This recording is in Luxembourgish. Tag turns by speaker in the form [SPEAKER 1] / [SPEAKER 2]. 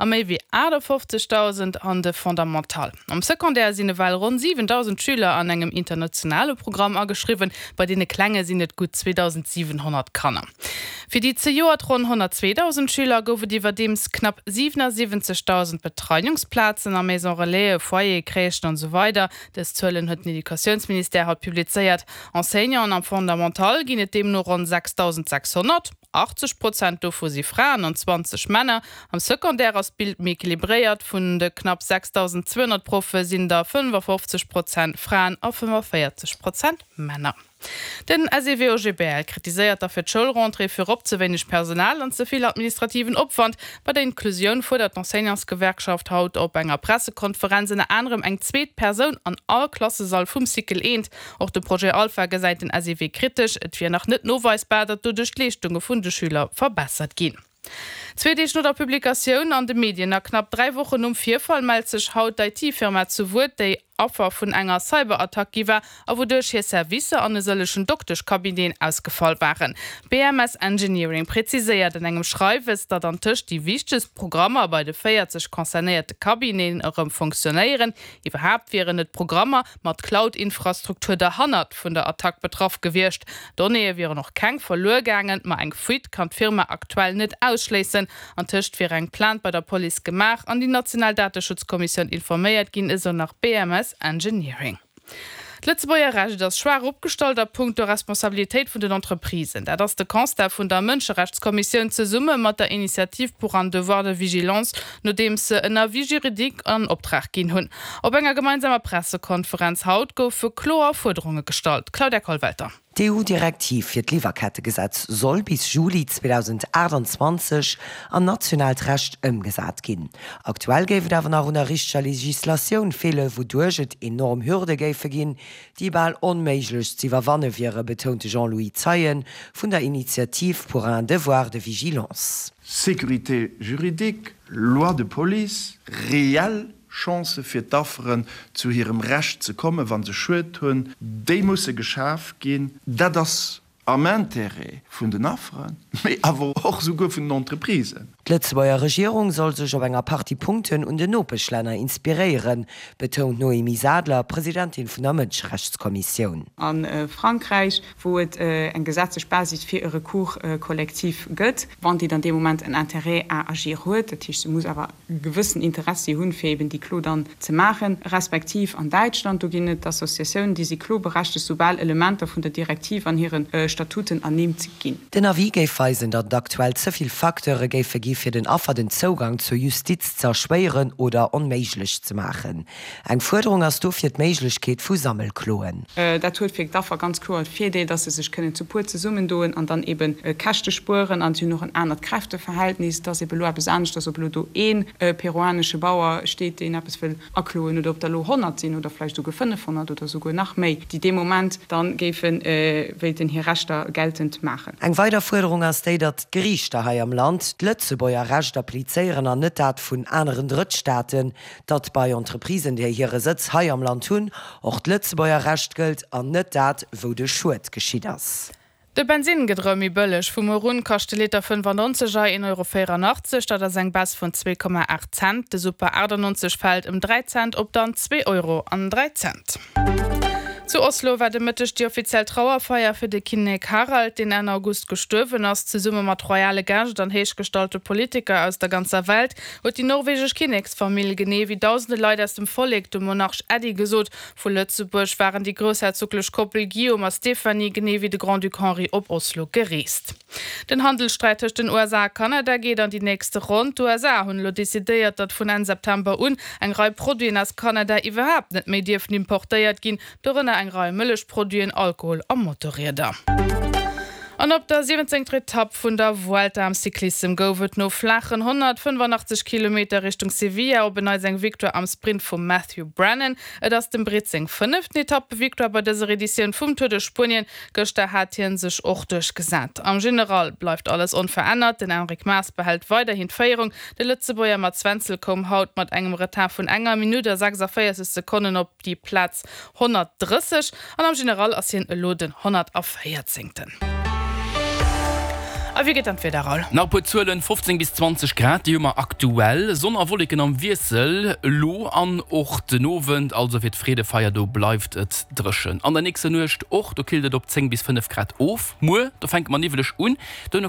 [SPEAKER 1] a méi wéi 58.000 an de Fondamental. Am Secondaire sinn ewell ronn 7.000 Schüler an engem internationale Programm ageschriwwen, bei deene Klenge sinn et gutt 2.700 Kanner. Fir déi zejoert ronn 102.000 Schüler gouf et iwwerdeems knapp 77.000 Betreiungsplazen a Maison Relaisen, Foyere, Crèchen an esou weider. Dës Zuelen huet den Educatiounsministère haut publizéiert. Enseignanten am Fondamental ginn et deemno ronn 6.600. 80 Prozent dovu si Fraen an 20 Männer. Am Secondaire ass d'Bild méi equilibréiert, Vun de knapp 6.200 Proffe sinn der 55 Prozent Fraen a 45 Prozent Männer. Den SEW-OGBL kritiséiert da fir d'Schoulrentrée virop ze wéineg Personal an ze vill administrativen Opwand. Bei der Inklusioun fuerdert d'Enseignantsgewerkschaft haut op enger Pressekonferenz ënner anerem eng zweet Persoun an all Klassesall vum Cycle eent. Och de Projet Alpha gesäit den SEW kritesch. Et wier nach net noweisbar, datt doduerch d'Leeschtunge vun de Schüler verbessert ginn. Zwee Deeg no der Publikatioun an de Medien a knapp 3 Wochen nom Virfall mellt sech haut d'IT-Firma zu Wuert, déi Affer vun enger Cyberattack gi war a wouduerch hir Servicer an e sëllechen Dokteschcabineten ausgefall waren. BMS Engineering präziséiert an engem Schreiwes, datt antëscht déi wichtegst Programmer bei de 40 concernéierte Cabineten erëm fonctionnéieren. Iwwerhaapt wieren et Programmer mat Cloud-Infrastruktur derhannert vun der Attack betraff gewiescht. Donnéeë wieren och keng verluer gaangen, ma eng Fuite kann d'Firma aktuell net ausschléissen. Antëscht wier eng Plainte bei der Police gemaach an déi national Dateschutzkommissioun informéiert ginn, esou nach BMS Engineering. D'Lëtzebuerger Recht ass schwaach opgestallt a punkto Responsabilitéit vun den Entreprisen. Dat ass de Constat vun der Mënscherechtskommissioun zesumme mat der Initiative pour un devoir de vigilance, nodeems se en Avis juridique an Optrag ginn hunn. Op enger gemeinsamer Pressekonferenz haut goufe kloer Fuerderunge gestallt. Claudia Kollwelter.
[SPEAKER 2] D'EU-Direktiv fir d'Liwwerkettegesetz soll bis Juli 2028 an nationaalt Recht ëmgesat ginn. Aktuell géif et awer nach un der richteger Legislatioun feelen, wouduerch et enorm Hürde géife ginn, déi bal onméiglech z'iwwerwanne wiere, betount de Jean-Louis Zeien vun der Initiative pour un devoir de vigilance.
[SPEAKER 3] Sécurité juridique, Loi de police, réelle Chancë fir d'Afferen zu hirem Recht ze kommen, wa se Schued hunn, déi musse geschaf ginn. Dat ass am Intérêt vun den Afferen, mee awer och souguer vun den Entreprisen.
[SPEAKER 2] D'Lëtzebuerger Regierung soll sech op enger Partie Punkten un den Nopeschlänner inspiréieren, betount d'Noémie Sadler, Presidentin vun der Mënscherechtskommissioun.
[SPEAKER 4] A Frankräich, wou et eng gesetzlech Basis fir e Recours collectif gëtt, wann déi dann dee Moment en Intérêt à agir huet, dat heescht, se muss awer e gewëssen Interessi hunn, fir eben déi Klo dann ze maachen, respektiv an Däitschland, do ginn et Associatiounen, déi si kloberechtegt, soubal Elementer vun der Direktiv an hire Statuten ernimmt ginn.
[SPEAKER 2] Den Avis géif weisen, datt et aktuell ze vill Facteure géife gi fir den Affer den Zougang zur Justiz ze erschwéieren oder onméiglech ze maachen. Eng Fuerderung ass dofir d'Méiglechkeet vu Sammelkloen.
[SPEAKER 4] Dat huet fir d'Affer ganz kloer de Virdeel, dass se sech kënnen zu puer zesummendoen an dann ebe Käschte spueren. An si hunn och en anert Kräfteverhältnis. Et ass ebe elo eppes aneschters, ob elo do ee peruanesche Bauer steet, deen eppes wëll akloen, oder ob der elo 100 sinn oder vläicht esouguer 500 oder esouguer nach méi, déi dee Moment da géife wéilten hir Rechter geltend maachen.
[SPEAKER 2] Eng weider Fuerderung ass déi, datt d'Geriichter hei am Land d'Lëtzebuerger Recht applizéieren an net dat vun aneren Drëttstaaten. Datt bei Entreprisen, déi hire Sëtz hei am Land hunn, och d'Lëtzebuerger Recht gëllt an net dat, wou de Schued geschitt ass.
[SPEAKER 1] De Bensinn gëtt erëm méi bëlleg. Vu muer un kascht de Liter 95 Ei 1,84 Euro, dat ass eng Baisse vun 2,8 Cent. De Super 98 fält ëm 3 Cent op dann 2 Euro an 3 Cent. Zu Oslo war de Mëtteg déi offiziell Trauerfeier fir de Kinnek Harald, deen Enn August gestuerwen ass. Zesumme mat royale Gäscht an héichgestallte Politiker aus der ganzer Welt huet déi norwegesch Kinneksfamill, genee wéi dausende Leit aus dem Vollek, dem Monarch Äddi gesot. Vu Lëtzebuerg waren déi groussherzoglech Koppel Guillaume a Stéphanie, genee wéi de Grand-Duc Henri op Oslo gereest. Den Handelssträit tëscht den USA a Kanada geet an déi nächste Ronn. D'USA hunn elo decidéiert, datt vun Enn September un eng Rei Produiten aus Kanada iwwerhaapt net méi dierfen importéiert ginn, dorënner eng Rei Mëllechproduiten, Alkohol a Motorrieder. An op der 17. Etapp vun der Vuelta am Cyclissem gouf et no flaachen 185 Kilometer Richtung Sevilla op en Neits eng Victoire am Sprint vum Matthew Brennan. Et ass dem Britt seng fënneften Etappevictoire bei dëser Editioun vum Tour de Spuenien. Gëschter hat hien sech och duerchgesat. Am General bleift alles onverännert, den Enric Mas behält weiderhin d'Féierung. De Lëtzebuerger Mats Wenzel koum haut mat engem Retard vun enger Minutt a 46 Sekonnen op déi Plaz 130 an am General ass hien elo den 114. A wéi gëtt dann d'Wieder, Raoul?
[SPEAKER 5] Nach e puer Zuelen, 15 bis 20 Grad, déi hu mer aktuell. Sonn a Wolleken am Wiessel elo an och den Owend, also fir d'Freedefeier, do bleift et dréchen. An der nächster Nuecht och, do killt et op 10 bis 5 Grad of. Muer, do fänke mer niwweleg un, duerno.